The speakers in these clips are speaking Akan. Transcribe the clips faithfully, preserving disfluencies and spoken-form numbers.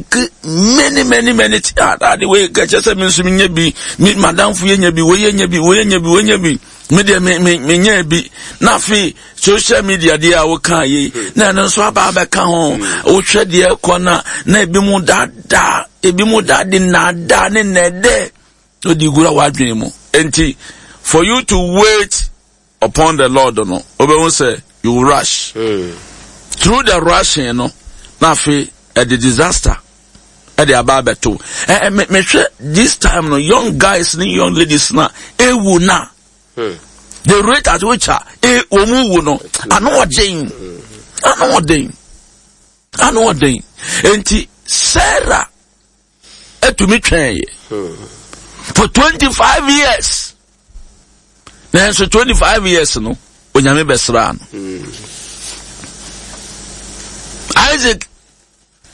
think many many many things. Ah, ade wei kɛkyɛ sɛ me nso menyɛ bi, me madamfo yɛ nya bi, wei yɛ nya bi, wei yɛ nya bi, wei nya bi. Me deɛ me me menyɛ bi. Na afei social media deɛ a woka yi, na ɛno nso aba abɛka ho. Wohwɛ deɛ ɛkɔ na na ebi mu daadaa, ebi mu daade naadaa ne nɛɛdɛ. Odi gura w'adwene mu. Enti for you to wait upon the Lord no, wobɛhu sɛ you will rush. Mm. Through the rushing no, na afei ɛde disaster ɛde aba abɛto. Ɛ ɛ mehwɛ this time no, young guys ne young ladies na ewu na. Hmm. The rate at which a e wɔn wu no, ano ɔden, ano ɔden, ano ɔden. Enti Sarah etumi twɛn yɛ for twenty five years. Nanso twenty five years no, Onyame bɛsraa no. Isaac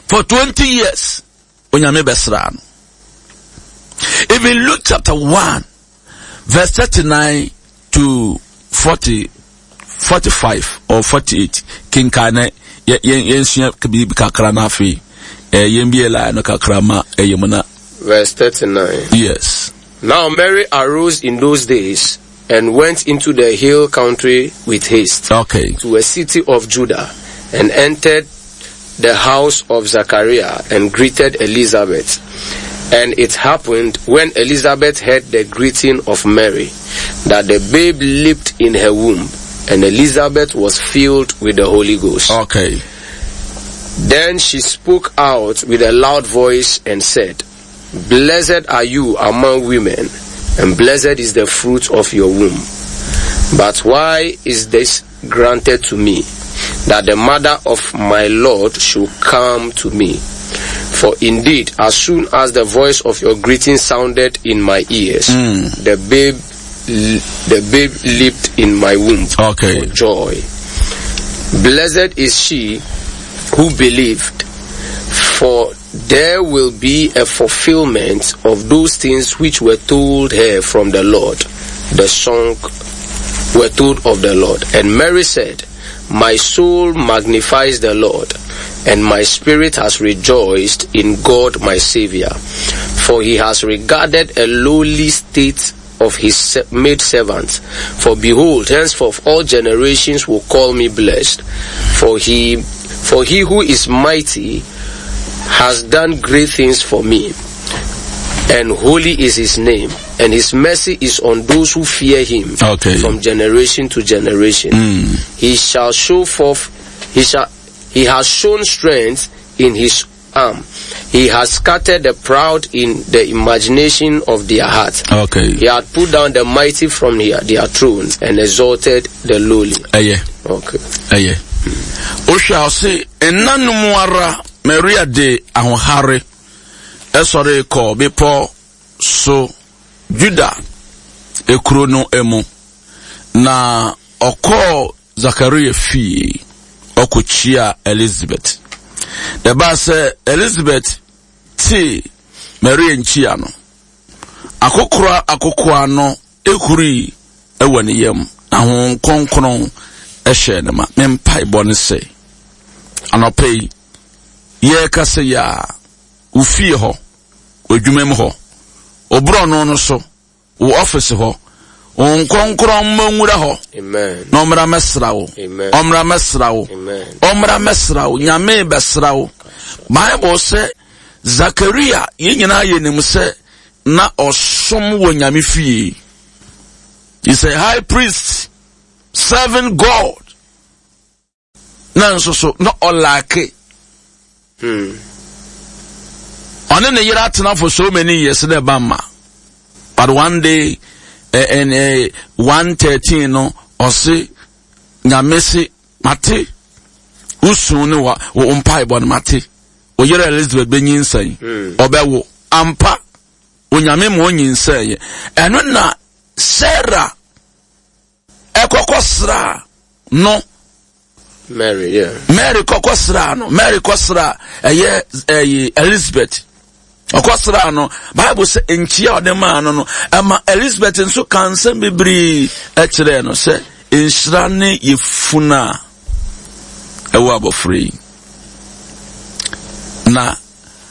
for twenty years, Onyame bɛsraa no. Even Luke chapter one, verse thirty-nine to forty, forty-five or forty-eight. Kenkan na yɛnsua biribi kakra na afei yɛn bi line no kakra ma ɛyɛ mu na. Verse thirty-nine. Yes. Now Mary arose in those days and went into the hill country with haste. Okay. To a city of Judah, and entered the house of Zachariah and greeted Elizabeth. And it happened when Elizabeth heard the greeting of Mary, that the babe leaped in her womb, and Elizabeth was filled with the Holy Ghost. Okay. Then she spoke out with a loud voice and said, Blessed are you among women, and blessed is the fruit of your womb. But why is this granted to me, that the mother of my Lord should come to me? For indeed, as soon as the voice of your greeting sounded in my ears, mm. the babe, the babe leaped in my womb okay. for joy. Blessed is she who believed, for there will be a fulfillment of those things which were told her from the Lord. The song were told of the Lord. And Mary said, My soul magnifies the Lord, and my spirit has rejoiced in God my Savior, for he has regarded a lowly state of his maidservant. For behold, henceforth all generations will call me blessed, for he, for he who is mighty has done great things for me, and holy is his name, and his mercy is on those who fear him okay. from generation to generation. Mm. He shall show forth, he shall, he has shown strength in his arm. He has scattered the proud in the imagination of their heart. Okay. He had put down the mighty from their, their thrones and exalted the lowly. Aye. Okay. Aye. Osha se enna no mu ara Maria de ahohare esore kɔ bepɔ so Juda ekuro no emu na ɔkɔɔ Zakaria fie ɔkɔkyia Elizabeth. The Bible sɛ Elizabeth te Maria nkyia no akokora akokoa no ehuri ɛwɔ ne yam na Honhom Kronkron ɛhyɛ ne ma. Me mpaebɔ ne sɛ anɔpa yi yɛrekasa yi a wo fie hɔ, w'adwuma mu hɔ, wo borɔno no so, wo office hɔ, Honhom Kronkron mmɔ nwura hɔ. Amen. Na ɔmmra mmɛsra wo. Amen. Ɔmmra mmɛsra wo. Amen. Ɔmmra mmɛsra wo. Nyame bɛsra wo. Bible sɛ Zakaria yɛn nyinaa yɛnim sɛ na ɔsom wɔ Nyame fie. He's a high priest serving God. Na nso so na ɔlaake. Hmm. Ɔne ne yere atena for so many years na ɛba mma. But one day, and eh, eh, one thirteen no, ɔse Nyame se mate wosu ne wa wo mpaebɔ no mate. Wo yere Elizabeth benyinsɛn. Ɔbɛwo. Ampa Onyame ma onyinsɛn yɛ. Ɛno na Sarah ɛkɔkɔ sra no. Mary, yeah. Mary kɔkɔ sra no. Mary kɔ sra ɛyɛ ɛyɛ Elizabeth. Ɔkɔ sra no. Bible sɛ nkyia ɔde maa no no ɛma Elizabeth nso ka nsɛm bebree ɛkyerɛɛ no sɛ nhyira ne yefunu a ɛwɔ abɔfra yi. Na